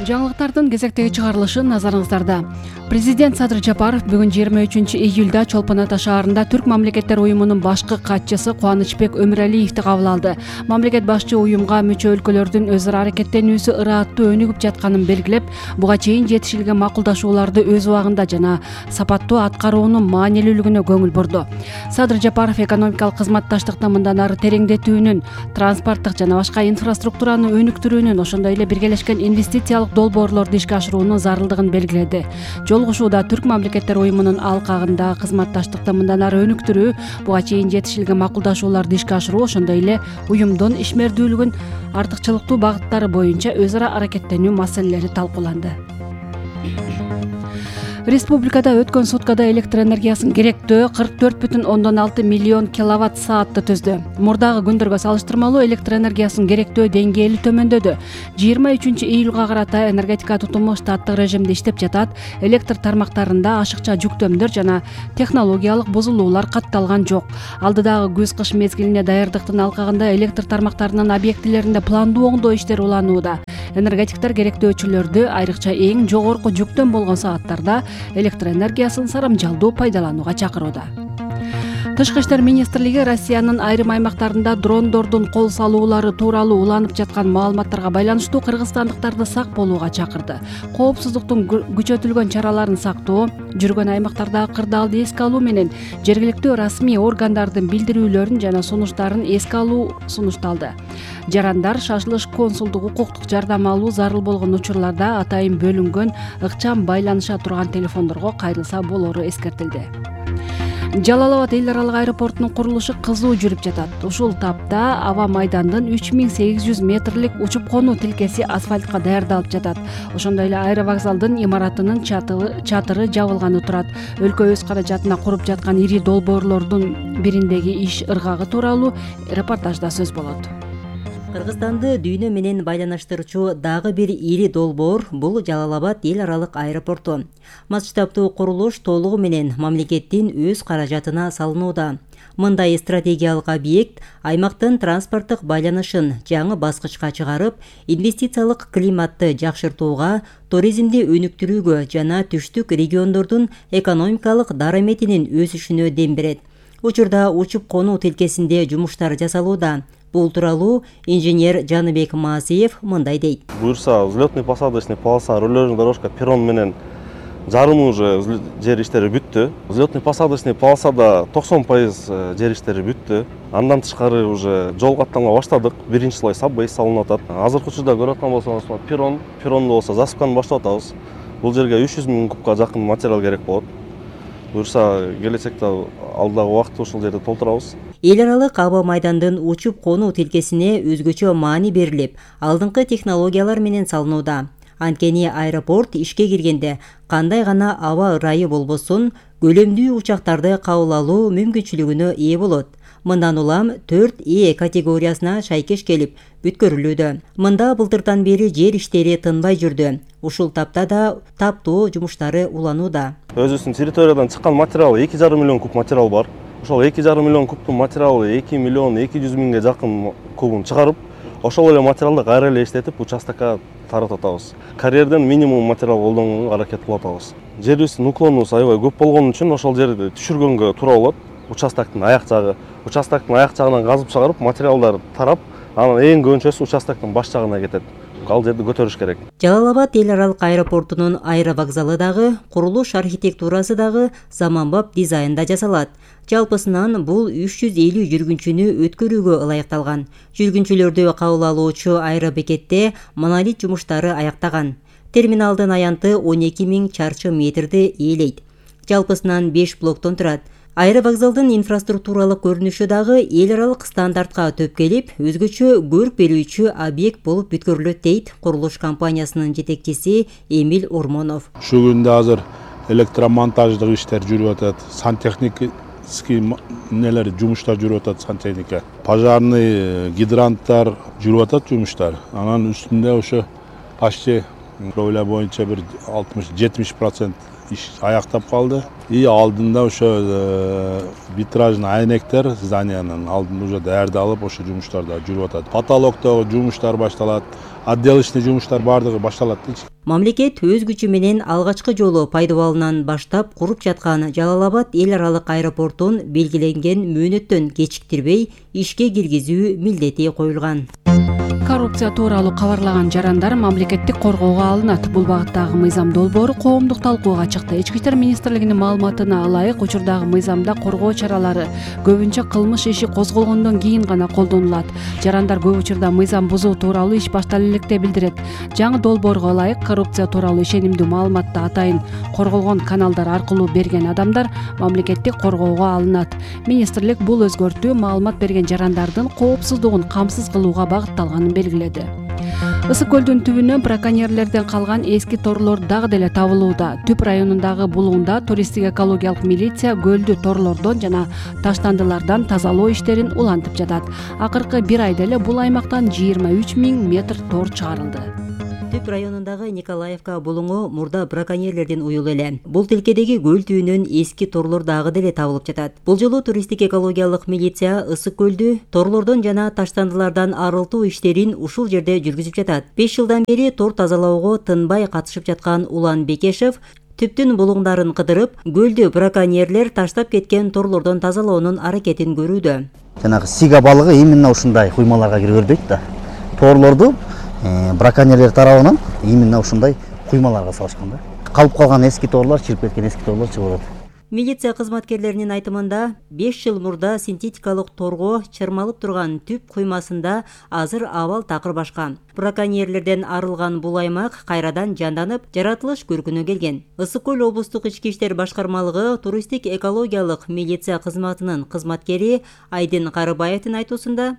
Жаңылыктардын кезектеги чыгарылышы назарыңыздарда. Президент Садыр Жапаров бүгүн 23-июлда Чолпон Ата шаарында Түрк мамлекеттер уюмунун башкы катчысы Кубанычбек Өмүралиевди кабыл алды. Мамлекет башчы уюмга мүчө өлкөлөрдүн өз ара аракеттенүүсү ырааттуу өнүгүп жатканын белгилеп, буга чейин жетишилген макулдашууларды өз убагында жана сапаттуу аткаруунун маанилүүлүгүнө көңүл бурду. Садыр Жапаров экономикалык кызматташтыкты мындан ары тереңдетүүнүн, транспорттук жана башка инфраструктураны өнүктүрүүнүн, ошондой эле биргелешкен инвестициялык долбоорлорду ишке ашыруунун зарылдыгын белгиледи. Жолугушууда Түрк мамлекеттер уюмунун алкагындагы кызматташтыкты мындан ары өнүктүрүү, буга чейин жетишилген макулдашууларды ишке ашыруу, ошондой эле уюмдун ишмердүүлүгүн артыкчылыктуу багыттары боюнча өз ара аракеттенүү маселелери талкууланды. Республикада өткөн суткада электр энергиясын керектөө 44,6 миллион киловатт саатты түздү. Мурдагы күндөргө салыштырмалуу электр энергиясын керектөө деңгээли төмөндөдү. 23-июлга карата энергетика тутуму штаттык режимде иштеп жатат. Электр тармактарында ашыкча жүктөмдөр жана технологиялык бузулуулар катталган жок. Алдыдагы күз-кыш мезгилине даярдыктын алкагында электр тармактарынын объектилеринде пландуу оңдоо иштери уланууда. Энергетиктер керектөөчүлөрдү айрыкча эң жогорку жүктөм болгон сааттарда электр энергиясын сарамжалдуу пайдаланууга чакырууда. Тышкы иштер министрлиги Россиянын айрым аймактарында дрондордун кол салуулары тууралуу уланып жаткан маалыматтарга байланыштуу кыргызстандыктарды сак болууга чакырды. Коопсуздуктун күчөтүлгөн чараларын сактоо, жүргөн аймактардагы кырдаалды эске алуу менен жергиликтүү расмий органдардын билдирүүлөрүн жана сунуштарын эске алуу сунушталды. Жарандар шашылыш консулдук укуктук жардам алуу зарыл болгон учурларда атайын бөлүнгөн ыкчам байланыша турган телефондорго кайрылса болору эскертилди. Жалал Абад эл аралык аэропортунун курулушу кызуу жүрүп жатат. Ушул тапта аба майдандын 3800 метрлик учуп конуу тилкеси асфальтка даярдалып жатат. Ошондой эле аэровокзалдын имаратынын чатыры жабылганы турат. Өлкө өз каражатына куруп жаткан ири долбоорлордун бириндеги иш ыргагы тууралуу репортажда сөз болот. Кыргызстанды дүйнө менен байланыштырчу дагы бир ири долбоор бул Жалал Абад эл аралык аэропорту. Масштабтуу курулуш толугу менен мамлекеттин өз каражатына салынууда. Мындай стратегиялык объект аймактын транспорттук байланышын жаңы баскычка чыгарып, инвестициялык климатты жакшыртууга, туризмди өнүктүрүүгө жана түштүк региондордун экономикалык дараметинин өсүшүнө дем берет. Учурда учуп конуу тилкесинде жумуштар жасалууда. Бул тууралуу инженер Жаныбек Маасиев мындай дейт. Буюрса, взлетно-посадочный полоса, рулежная дорожка, перрон менен жарымы уже жер иштери бүттү. Взлетно-посадочный полосада 90% жер иштери бүттү. Андан тышкары уже жол катталма баштадык. Биринчи слой саббей салынып атат. Азыркы учурда көрүп аткан болсоңуз, перронду болсо засыпканы баштап атабыз. Бул жерге 300 000 кубка жакын материал керек болот. Буюрса, келечекте алдагы убакытта ушул жерди толтурабыз. Эл аралык аба майдандын учуп конуу тилкесине өзгөчө маани берилип, алдыңкы технологиялар менен салынууда. Анткени аэропорт ишке киргенде кандай гана аба ырайы болбосун, көлөмдүү учактарды кабыл алуу мүмкүнчүлүгүнө ээ болот. Мындан улам 4E категориясына шайкеш келип бүткөрүлүүдө. Мында былтырдан бери жер иштери тынбай жүрдү. Ушул тапта да таптоо жумуштары уланууда. Өзүбүздүн территориядан чыккан материал 2,5 миллион куб материал бар. Ошол 2,5 миллион кубтун материалы 2 миллион 200 миңге жакын кубун чыгарып, ошол эле материалды кайра эле иштетип участокко таратып атабыз. Карьерден минимум материал колдонууга аракет кылып атабыз. Жерибиздин уклонубуз аябай көп болгон үчүн ошол жерди түшүргөнгө туура болот. Участоктун аяк жагынан казып чыгарып, материалдар тарап, анан эң көбүнчөсү участоктун баш жагына кетет. Ал жерди көтөрүш керек. Жалал Абад эл аралык аэропортунун аэровокзалы дагы, курулуш архитектурасы дагы заманбап дизайнда жасалат. Жалпысынан бул 350 жүргүнчүнү өткөрүүгө ылайыкталган. Жүргүнчүлөрдү кабыл алуучу аэробекетте монолит жумуштары аяктаган. Терминалдын аянты 12 000 чарчы метрди ээлейт. Жалпысынан 5 блоктон турат. Аэровокзалдын инфраструктуралык көрүнүшү дагы эл аралык стандартка төп келип, өзгөчө көрк берүүчү объект болуп бүткөрүлөт дейт курулуш компаниясынын жетекчиси Эмиль Ормонов. Ушул күндө азыр электромонтаждык иштер жүрүп атат, сантехнический жумуштар жүрүп атат, сантехника. Пожарный гидранттар жүрүп атат жумуштар. Анан үстүндө ошо почти кровля боюнча бир 60-70% иш аяктап калды. И алдында ошо витражный айнектер зданиянын алдында уже даярдалып, ошо жумуштарда жүрүп атат. Потолоктогу жумуштар башталат. отделочный жумуштар баардыгы башталат дейчи. Мамлекет өз күчү менен алгачкы жолу пайдалануудан баштап куруп жаткан Жалал Абад эл аралык аэропортун белгиленген мөөнөттөн кечиктирбей ишке киргизүү милдети коюлган. Коррупция тууралуу кабарлаган жарандар мамлекеттик коргоого алынат. Бул багыттагы мыйзам долбоору коомдук талкууга чыкты. Ички иштер министрлигинин маалыматына ылайык, учурдагы мыйзамда коргоо чаралары көбүнчө кылмыш иши козголгондон кийин гана колдонулат. Жарандар көп учурда мыйзам бузуу тууралуу иш баштала электе билдирет. Жаңы долбоорго ылайык, коррупция тууралуу ишенимдүү маалыматты атайын корголгон каналдар аркылуу берген адамдар мамлекеттик коргоого алынат. Министрлик бул өзгөртүү маалымат берген жарандардын коопсуздугун камсыз кылууга багытталганын белгиледи. Ысык көлдүн түбүнөн браконьерлерден калган эски торлор дагы деле табылууда. Түп районундагы булуңда туристтик экологиялык милиция көлдү торлордон жана таштандылардан тазалоо иштерин улантып жатат. Акыркы бир айда эле бул аймактан 23 000 метр тор чыгарылды. Түп районундагы Николаевка булуңу мурда браконьерлерден уюл эле. Бул тилкедеги көл түбүнөн эски торлор дагы деле табылып жатат. Бул жолу туристтик экологиялык милиция ысык көлдү торлордон жана таштандылардан арылтуу иштерин ушул жерде жүргүзүп жатат. 5 жылдан бери тор тазалоого тынбай катышып жаткан Улан Бекешев түптүн булуңдарын кыдырып, көлдү браконьерлер таштап кеткен торлордон тазалоонун аракетин көрүүдө. Жанагы сига балыгы именно ушундай куймаларга киргөрбөйт да. Торлорду браконьерлер тарабынан именно ушундай куймаларга салышкан да. Калып калган эски торлор, чирип кеткен эски торлор чыгып атат. Милиция кызматкерлеринин айтымында 5 жыл мурда синтетикалык торго чырмалып турган түп куймасында азыр абал такыр башка. Браконьерлерден арылган бул аймак кайрадан жанданып, жаратылыш көркүнө келген. Ысык көл облустук ички иштер башкармалыгы туристтик экологиялык милиция кызматынын кызматкери Айдын Карыбаевдин айтуусунда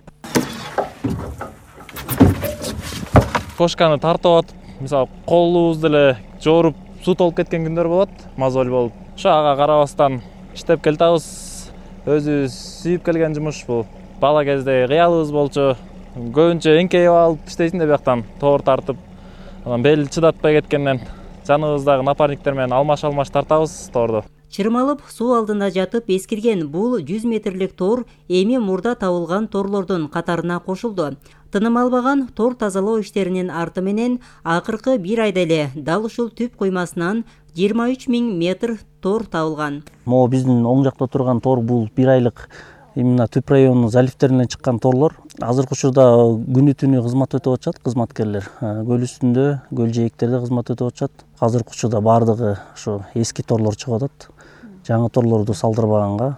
кошканы тартып атып, мисалы колубузду эле жооруп суу толуп кеткен күндөр болот, мозоль болуп. Ошо ага карабастан иштеп келатабыз. Өзүбүз сүйүп келген жумуш бул. Бала кезде кыялыбыз болчу. Көбүнчө эңкейип алып иштейсиң да бияктан тоор тартып. Анан бел чыдатпай кеткенден жаныбыздагы напарниктер менен алмаш тартабыз тоорду. Чырмалып суу алдында жатып эскирген бул 100 метрлик тор эми мурда табылган торлордун катарына кошулду. Тыным албаган тор тазалоо иштеринин арты менен акыркы бир айда эле дал ушул түп куймасынан 23 000 метр тор табылган. Могу биздин оң жакта турган тор бул бир айлык именно түп районунун заливтеринен чыккан торлор. Азыркы учурда күнү түнү кызмат өтүп атышат кызматкерлер. Көл үстүндө, көл жээктерде кызмат өтүп атышат. Азыркы учурда баардыгы ошо эски торлор чыгып атат. Жаңы торлорду салдырбаганга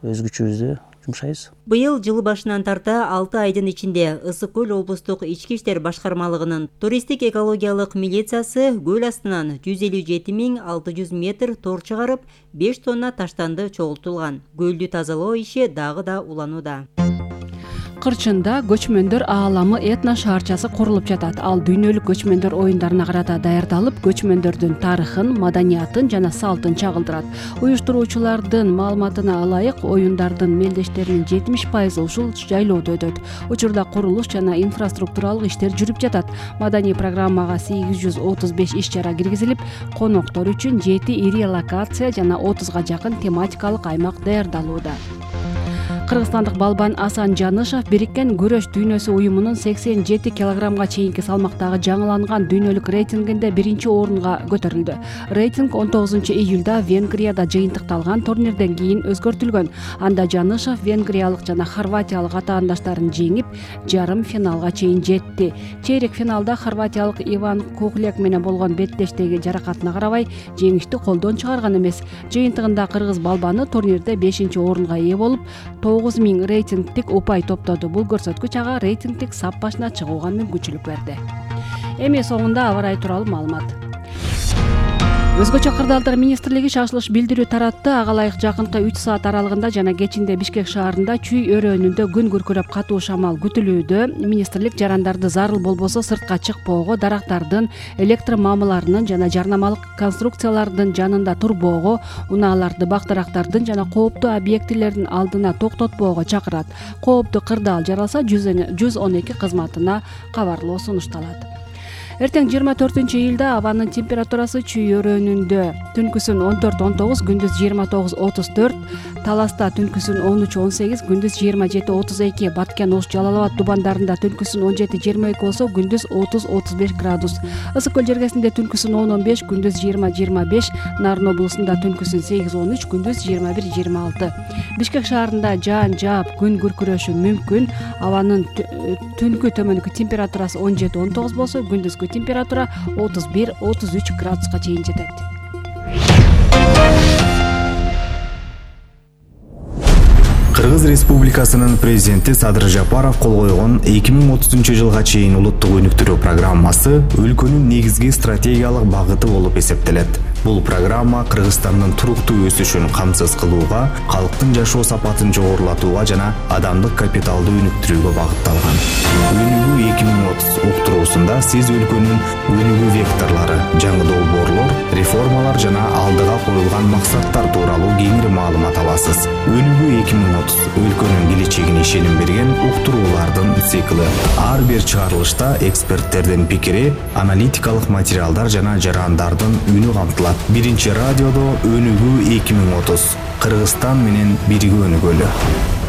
өз күчүбүздү жумшайбыз. Быйыл жыл башынан тарта 6 айдын ичинде Ысык көл облустук ички иштер башкармалыгынын туристтик экологиялык милициясы көл астынан 157 600 метр тор чыгарып, 5 тонна таштанды чогултулган. Көлдү тазалоо иши дагы да уланууда. Кырчында көчмөндөр ааламы этно шаарчасы курулуп жатат. Ал дүйнөлүк көчмөндөр оюндарына карата даярдалып, көчмөндөрдүн тарыхын, маданиятын жана салтын чагылдырат. Уюштуруучулардын маалыматына ылайык, оюндардын мелдештеринин 70% ушул жайлоодо өтөт. Учурда курулуш жана инфраструктуралык иштер жүрүп жатат. Маданий программага 835 иш-чара киргизилип, коноктор үчүн 7 ири локация жана 30га жакын тематикалык аймак даярдалууда. Кыргызстандык балбан Асан Жанышев Бириккен күрөш дүйнөсү уюмунун 87 килограммга чейинки салмактагы жаңыланган дүйнөлүк рейтингинде 1-орунга көтөрүлдү. Рейтинг 19-июлда Венгрияда жыйынтыкталган турнирден кийин өзгөртүлгөн. Анда Жанышев венгриялык жана хорватиялык атаандаштарын жеңип, жарым финалга чейин жетти. Чейрек финалда хорватиялык Иван Кухлек менен болгон беттештеги жаракатына карабай, жеңишти колдон чыгарган эмес. Жыйынтыгында кыргыз балбаны турнирде 5-орунга ээ болуп, 9000 рейтингтик упай топтоду. Бул көрсөткүч ага рейтингтик сап башына чыгууга мүмкүнчүлүк берди. Эми соңунда аба ырайы тууралуу маалымат. Өзгөчө кырдаалдар министрлиги шашылыш билдирүү таратты. Ага ылайык жакынкы 3 саат аралыгында жана кечинде Бишкек шаарында чүй өрөөнүндө күн күркүрөп катуу шамал күтүлүүдө. Министрлик жарандарды зарыл болбосо сыртка чыкпоого, дарактардын, электр мамыларынын жана жарнамалык конструкциялардын жанында турбоого, унааларды, бактарактардын жана кооптуу объектилердин алдына токтотпоого чакырат. Кооптуу кырдаал жаралса 112 кызматына кабарлоо сунушталат. Эртең 24-июлда абанын температурасы чүйөрөнүндө. Түнкүсүн 14-19, күндүз 29-34, Таласта түнкүсүн 13-18, күндүз 27-32, Баткен, Ош, Жалал Абад тубандарында түнкүсүн 17-22 болсо, күндүз 30-35 градус. Ысык көл жергесинде түнкүсүн 10-15, күндүз 20-25, Нарын облусунда түнкүсүн 8-13, күндүз 21-26. Бишкек шаарында жаан жаап, күн күркүрөшү мүмкүн. Абанын түнкү төмөнкү температурасы 17-19 болсо, күндүзгү температура 31-33 градуска чейин жетет. Кыргыз Республикасынын президенти Садыр Жапаров кол койгон 2030 жылга чейин улуттук өнүктүрүү программасы өлкөнүн негизги стратегиялык багыты болуп эсептелет. Бул программа Кыргызстандын туруктуу өсүшүн камсыз кылууга, калктын жашоо сапатын жогорулатууга жана адамдык капиталды өнүктүрүүгө багытталган. Өнүгүү 2030 уктуруусунда сиз өлкөнүн өнүгүү векторлору, жаңы долбоорлор, реформалар жана алдыга коюлган максаттар тууралуу кеңири маалымат аласыз. Өнүгүү 2030 өлкөнүн келечегине ишеним берген уктуруулардын цикли. Ар бир чыгарылышта эксперттердин пикири, аналитикалык материалдар жана жарандардын үнү камтылат. Биринчи радиодо Өнүгүү 2030. Кыргызстан менен бирге өнүгөлү.